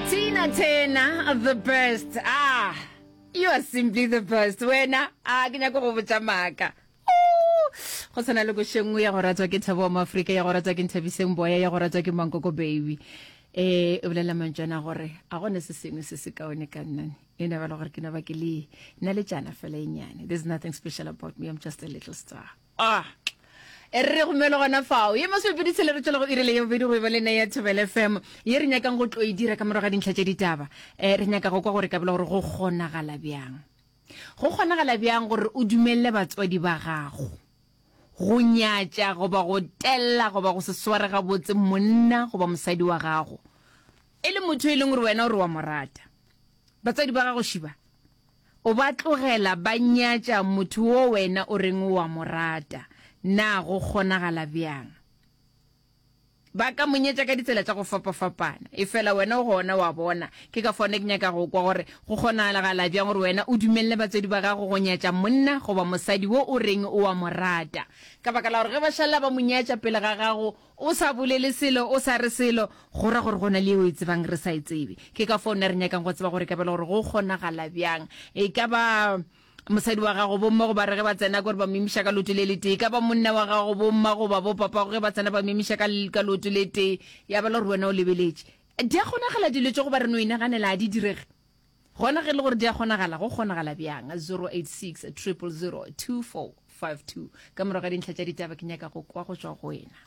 Tina Turner, the best. Ah, you are simply the best. Wena, ah, ke nyaka go botša maaka. Go tshwana le koše nngwe ya go ratwa ke Thabo wa Moafrika, ya go ratwa ke Nthabiseng Boya, ya go ratwa ke Mankoko Baby. Eh, o bolela mantšwana gore a gone se sengwe se se kaone ka nna. E ne ba le gore ke no ba ke le nna le tšana fela e nyane. There's nothing special about me, I'm just a little star. Ah, e re gomele gona fao ye masomepedi tshele re tšwela go irile ya bobedi go e ba le nna ya Thobela FM ye re nyakang go tlo e dira ka morago ga dintlha tša ditaba. Eh, re nyaka go kwa gore ka bela gore go kgonagala bjang. Go kgonagala bjang gore o dumelele batswadi ba gago go nyatša goba go tella goba go se sware gabotse monna goba mosadi wa gago e le motho e leng gore wena o re wa mo rata? Batswadi ba gago šiba o ba tlogela ba nyatša motho wo wena o reng o wa mo rata. Na go kgonagala bjang? Ba ka mo nyetša ka ditsela tša go fapafapana, efela wena o gona wa bona. Ke ka fao ne ke nyaka go kwa gore go kgonagala bjang gore wena o dumelele batswadi ba gago go nyatša monna goba mosadi wo o reng o a mo rata. Ka baka la gore ge ba šalela ba mo nyatša pele ga gago o sa bolele selo, o sa re selo, go ra gore go na le yeo e tsebang re sa e tsebe. Ke ka fao nna re nyakang go tseba gore e ka ba e le gore go kgonagala bjang. E ka ba. Mosadi wa gago, bomma goba re ge ba tsena kore ba mo imiša ka leoto le letee, e ka ba monna wa gago, bomma goba bopapago ge ba tsena ba mo imiša ka, ka leoto le tee, ya ba le gore wena o lebeletše. Di a kgonagala dilo tše goba re no inaganela a di direge? Gona ge e le gore di a kgonagala, go kgonagala bjang? 086 000 2452. Ka morago ga dintlha tša ditaba ke nyaka go kwa go tšwa go wena.